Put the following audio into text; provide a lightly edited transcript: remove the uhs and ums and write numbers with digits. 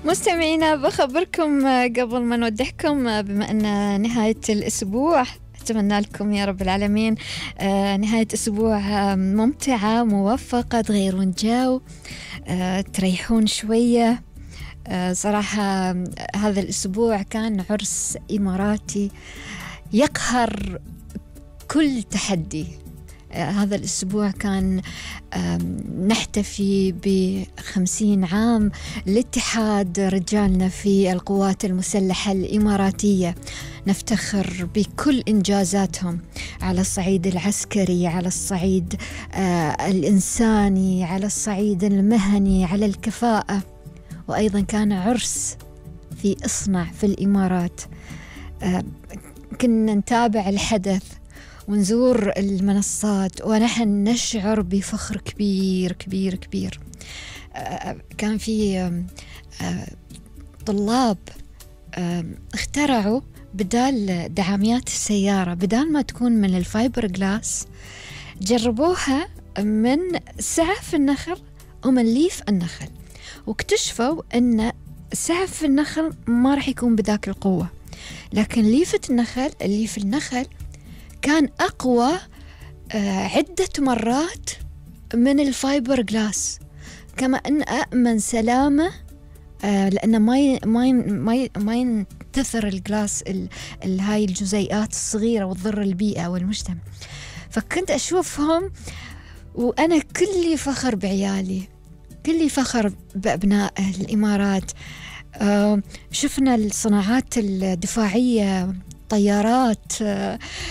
مستمعينا بخبركم قبل ما نودعكم بما أن نهاية الأسبوع أتمنى لكم يا رب العالمين نهاية أسبوع ممتعة موفقة، تغيرون جو، تريحون شوية. صراحة هذا الأسبوع كان عرس إماراتي يقهر كل تحدي. هذا الأسبوع كان نحتفي ب50 عام لاتحاد رجالنا في القوات المسلحة الإماراتية، نفتخر بكل إنجازاتهم على الصعيد العسكري، على الصعيد الإنساني، على الصعيد المهني، على الكفاءة. وأيضا كان عرس في إصنع في الإمارات، كنا نتابع الحدث ونزور المنصات ونحن نشعر بفخر كبير كبير كبير. كان في طلاب اخترعوا بدال دعاميات السيارة، بدال ما تكون من الفايبر جلاس، جربوها من سعف النخل ومن ليف النخل، واكتشفوا أن سعف النخل ما راح يكون بذاك القوة، لكن ليف النخل كان أقوى عدة مرات من الفايبر جلاس، كما أن أأمن سلامة لأنه ما ينتثر الجلاس هاي الجزيئات الصغيرة وتضر البيئة والمجتمع. فكنت أشوفهم وأنا كلي فخر بعيالي، كلي فخر بأبناء الإمارات. شفنا الصناعات الدفاعية، طيارات،